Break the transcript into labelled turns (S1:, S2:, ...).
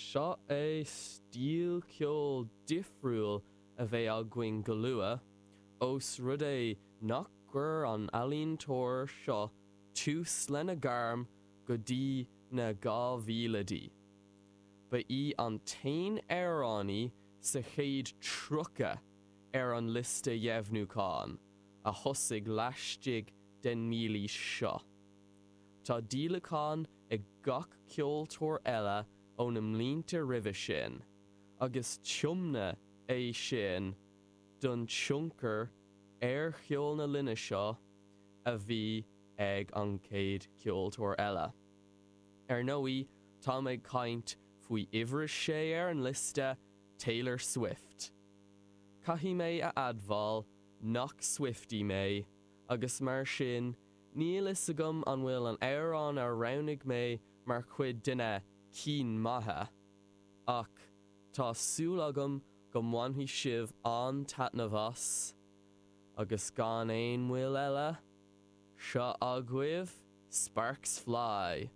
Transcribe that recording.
S1: Seo é stíl ceoil difriúil a bheidh againn go luath, ós rud é nach gcuir an ealaíontóir seo tús lena gairm go dtí na 2000idí. Ba í an t-aon amhránaí sa chéad 30 ar an liosta dheimhniúcháin a thosaigh laistigh den mílaois seo. Tá díolacháin ag gach ceoltóir eile ó na mblianta roimhe sin, agus tiomna é sin don tionchar ar cheol na linne seo a bhí ag an gcéad cheoltóir eile. Ar ndóigh, táim ag caint faoi uimhir a sé ar an liosta, Taylor Swift. Caithfidh mé a admháil nach Swiftie mé, agus mar sin níl fhios agam an bhfuil an amhrán a roghnaigh mé mar chuid de na cinn maithe, ach tá súil agam go mbainfidh sibh an-taitneamh as, agus gan aon mhoill eile, seo agaibh Sparks Fly!